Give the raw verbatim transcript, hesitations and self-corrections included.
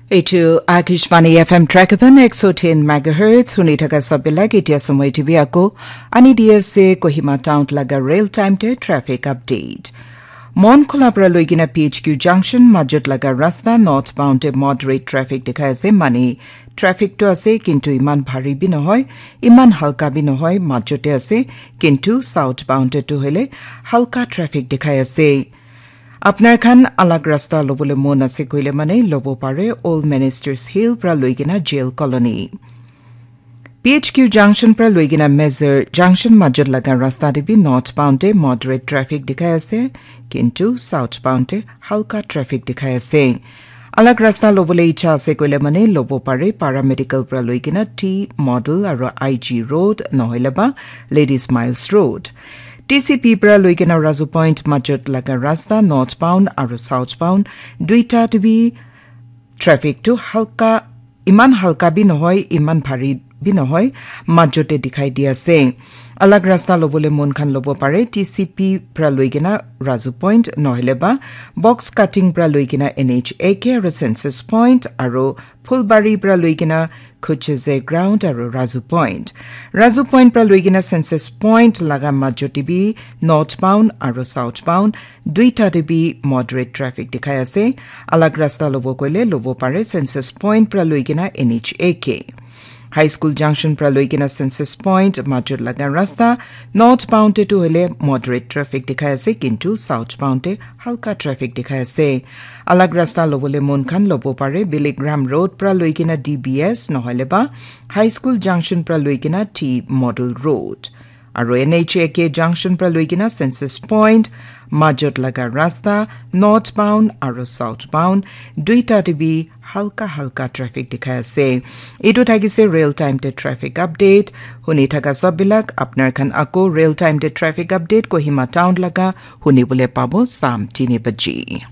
Eitu Akashvani F M Trakapan ek so tin megahertz, huni thaka sabilak itia samoi T V ako, ani D S A Kohima Town laga real time te traffic update. Mon Khola pra loikena P H Q junction majot laga rasta northbound te moderate traffic dikhai ase, mani traffic to ase, kintu iman bhari bi nohoi, iman halka bi nohoi, majote ase, kintu southbound te tu hoile halka traffic dikhai ase. Apnar khan alag rasta lobole mon ase koile mane lobo pare, Old Ministers Hill pra loikena Jail Colony. P H Q junction pra loikena Mezar junction majot laga rasta te bi northbound te moderate traffic dikhai ase, kintu southbound te halka traffic dikhai ase. Alag rasta lobole icha ase koile mane lobo pare, Paramedical pra loikena T Model aro I G Road nohoile ba Ladies Miles Road. T C P pra loikena Razu Point majot laga rasta northbound aro southbound duita te bi traffic tu halka, iman halka bi nohoi, iman bhari bi nohoi, majote dikhai di ase. Alag rasta lobole mon khan lobo pare, T C P pra loikena Razu Point nohoile ba Box Cutting pra loikena N H A K aro Census Point aro Phulbari pra loikena Khucheze Ground aro Razu Point. Razu Point pra loikena Census Point laga majote bi northbound aro southbound duita te bi moderate traffic dikhai ase. Alag rasta lobo koile lobo pare Census Point pra loikena N H A K. High School Junction pra loikena Census Point majot laga rasta northbound te tu hoile moderate traffic dikhai ase, kintu southbound te halka traffic dikhai ase. Alag rasta lobole mon khan lobo pare, Billy Graham Road pra loikena D B S nohoile ba High School Junction pra loikena T Model Road. Aro N H A K junction pra loikena Census Point majot laga rasta northbound aro southbound duita te bi halka halka traffic dikhai ase. Etu thakise real time te traffic update. Huni thaka sob bilak apnar khan ako real time te traffic update Kohima Town laga huni bole pabo sam tini baji.